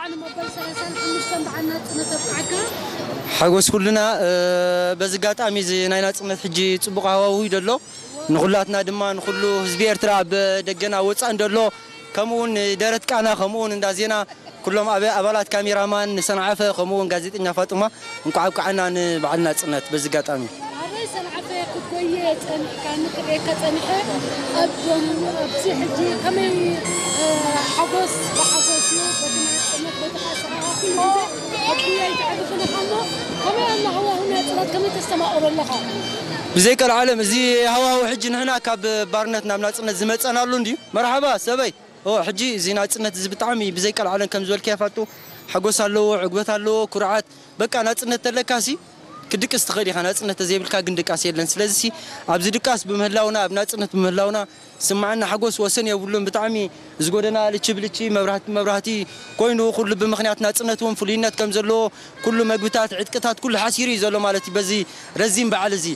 ዓለም መበል ሰላሳን ሓሙሽተን በዓል ናጽነት ኣብቅዓካ። ሓጎስ ኩልና። በዚ ኣጋጣሚ እዚ ናይ ናጽነት ሕጂ ጽቡቕ ሃዋህው እዩ ዘሎ። ንኹላትና ድማ፣ ንኹሉ ህዝቢ ኤርትራ ኣብ ደገና ወጻእን ዘሎ፣ ከምኡ እውን ደረት ቃና፣ ከምኡ እውን እንዳ ዜና፣ ኩሎም ኣበ-፣ ኣባላት ካሜራማን፣ ንሰንዓፈ፣ ከምኡ እውን ጋዜጠኛ ፋጡማ፣ እንኳዕ ኣብቅዓና ንበዓል ናጽነት። በዚ ኣጋጣሚ ኣበይ ሰንዓፈ ክትጎየ ጸኒሕካ፣ ንክርእየካ ጸኒሐ። ኣብ፣ ኣብዚ ሕጂ ከመይ፣ እ፣ ሓጎስ ብሓጎስ እዩ፣ በቲ ናጽነት፣ በቲ ከኣ ሰሓቓ ኩሉ ግዜ ኣብ ጉያ ይትዕርፍን ኢኻ እሞ፣ ከመይ ኣሎ ሃዋህው ናጽነት፣ ከመይ ተስተማቕሮ ኣለኻ? ብዘይ ቀልዓለም፣ እዚ ሃዋህው ሕጂ ንሕና ካብ ባርነት ናብ ናጽነት ዝመጸናሉ እንድዩ። መርሓባ ሰበይ። ኦ፣ ሕጂ እዚ ናጽነት እዚ ብጣዕሚ ብዘይ ቀልዓለም ከም ዝበልክያ ፋጡ፣ ሓጎስ ኣለዎ፣ ዕግበት ኣለዎ፣ ኩርዓት። በቃ ናጽነት ተለካሲ ክድቅስ ትኽእል ኢኻ። ናጽነት ተዘይብልካ ግን ድቃስ የለን። ስለዚሲ ኣብዚ ድቃስ ብምህላውና፣ ኣብ ናጽነት ብምህላውና ዝስምዓና ሓጎስ ወሰን የብሉን። ብጣዕሚ እዚ ጎደና ልቺ ብልቺ፣ መብራህቲ መብራህቲ ኮይኑ፣ ኩሉ ብምኽንያት ናጽነት እውን ፍሉይነት ከም ዘለዎ፣ ኩሉ መግብታት፣ ዕጥቅታት፣ ኩሉ ሓሲሩ እዩ ዘሎ ማለት እዩ በዚ ረዚን በዓል እዚ።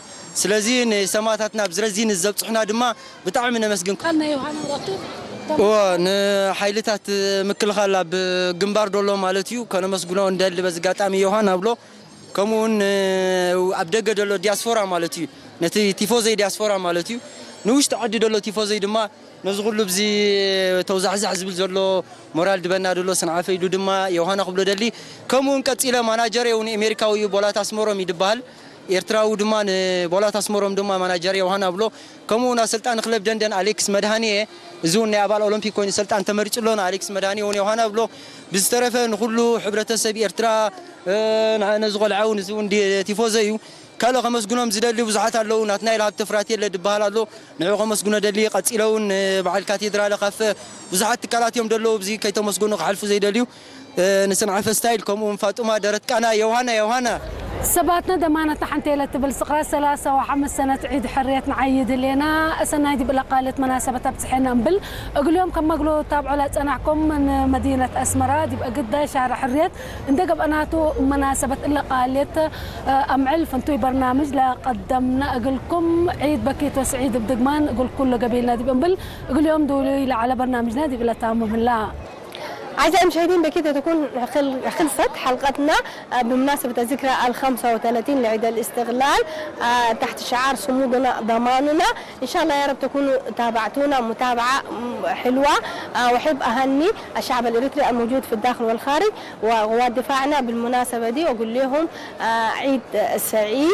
ስለዚ ንሰማእታትና ኣብዚ ረዚን እዚ ዘብጽሑና ድማ ብጣዕሚ ነመስግን። ቃል ናይ ዮሃና ረቱ እወ፣ ንሓይልታት ምክልኻል ኣብ ግንባር ደሎ ማለት እዩ፣ ከነመስግኖ እንደሊ በዚ ኣጋጣሚ ዮሃና ብሎ። ከምኡ እውን ኣብ ደገ ደሎ ዲያስፖራ ማለት እዩ፣ ነቲ ቲፎዘይ ዲያስፖራ ማለት እዩ፣ ንውሽጢ ዓዲ ደሎ ቲፎዘይ ድማ ነዚ ኩሉ ብዚ ተውዛሕዛሕ ዝብል ዘሎ ሞራል ድበና ደሎ ሰንዓፈ ኢሉ ድማ ዮሃና ክብሎ ደሊ። ከምኡ እውን ቀጺለ ማናጀር እውን ኣሜሪካዊ እዩ፣ ቦላት ኣስመሮም ይድበሃል። ኤርትራዊ ድማ ንቦላት ኣስመሮም ድማ ማናጀር ዮሃና ብሎ። ከምኡ እውን ኣሰልጣኒ ክለብ ደንደን ኣሌክስ መድሃኒየ፣ እዚ እውን ናይ ኣባል ኦሎምፒክ ኮይኑ ሰልጣን ተመሪጹ ኣሎ። ንኣሌክስ መድሃኒየ እውን ዮሃና ብሎ። ብዝተረፈ ንኹሉ ሕብረተሰብ ኤርትራ፣ እ፣ ን-፣ ነዚ ቆልዓ እውን፣ እዚ እውን ዲ-፣ ቲፎዘ እዩ። ካልእ ከመስግኖም ዝደሊ ብዙሓት ኣለዉ። ናትናኤል ሃብተ ፍራቴለ ድበሃል ኣሎ። ንዕኡ ከመስግኖ ደሊ። ቀጺለ እውን፣ እ፣ በዓል ካቴድራለ ካፈ፣ ብዙሓት ትካላት እዮም ደለዉ፣ ብዚ ከይተመስገኑ ክሓልፉ ዘይደልዩ። እ፣ ንሰንዓፈ ስታይል፣ ከምኡ እውን ፋጡማ ደረት ቃና፣ ዮሃና፣ ዮሃና። ሰባትነ ደማነታ ሓንቴለ ትብል ስቕራ ሰላሳ ወሓምስ ሰነት ዒድ ሕርየት ንዓይ ድሌና። እሰናይ ዲብላ ቃልየት መናሰበት ኣብጽሐና እምብል፣ እግልዮም ከም መግሎ ታብዖላ ጸናሕኩም ንመዲነት ኣስመራ ዲብ እግዳይ ሻራ ሕርየት እንደ ገብአናቱ መናሰበት እለ ቃልየት፣ እ፣ ኣምዕል ፍንቱይ በርናምጅ ለቀደምና እግልኩም ዒድ በኪት ወስዒድ ብድግማን እግል ኩሎ ገቢልና ዲብ እምብል፣ እግልዮም ድውሉይ ለዓለ በርናምጅና ዲብ ለታሙ ምህላ። أعزائي المشاهدين، بكده تكون خل-، خلصت حلقتنا، آه، بمناسبة الذكرى الخمسة وثلاثين لعيد الاستقلال، آه، تحت شعار صمودنا ضماننا. إن شاء الله يا رب تكونوا تابعتونا متابعة، م-، حلوة. آه، وأحب أهني الشعب الإريتري الموجود في الداخل والخارج وقوات دفاعنا بالمناسبة دي، وأقول لهم، آه، عيد سعيد.